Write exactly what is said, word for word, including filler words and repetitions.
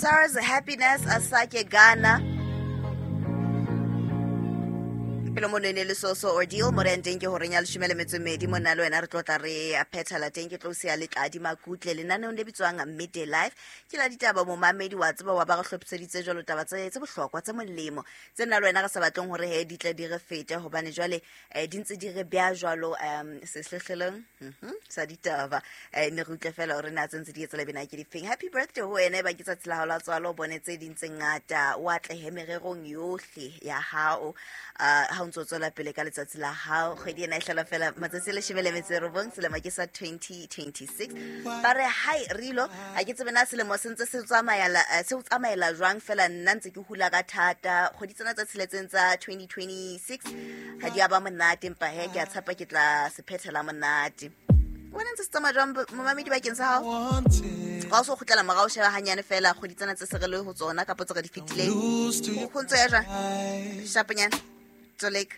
Sirs Happiness Asake Ghana. Pele mono e ne le so-so ordeal mo re yang teng ke horeng ya leshome le metso e mmedi monna le wena re tlo tla re phethela teng ke tlo siya letladi makutle lenaneong le bitswang Midday Life. Ke la ditaba momamedi wa tseba wa ba re hlophiseditse jwalo taba tse tse bohlokwa tse molemo tse nna le wena re sa batleng hore he di tle di re fete hobane jwale eh, di ntse di re beha jwalo um sehlehlelong mhm, sa ditaba. eh, ne re utlwe fela hore na tse ntse di etsa lebena ke difeng. Happy birthday ho wena e ba ke tsatsi la hao la tswalo, o bone tse ding tse ngata, o atlehe mererong yohle ya hao uh, ha o ntso tswela pele ka letsatsi la hao. Kgwedi ena e hlola fela matsatsi a leshome le metso e robong, selemo ke sa twenty twenty-six. Ba re hai rilo, ha ke tsebe na selemo se ntse se tsamaela, eh, se o tsamaela jwang fela nna ntse ke hula ka thata. Kgwedi tsena tse tsheletseng tsa twenty twenty-six ha di a ba monate, empa he ke a tshepa ke tla se phethela monate. Wena ntse se tsamaya jwang momamedi bakeng sa hao? Ga o so kgutlela morao, sheba hanyane fela kgwedi tsena tse se re le ho tsona kapa tse re di fetileng. Ho ntso ya jwang? Shaponyana. Tsoleka.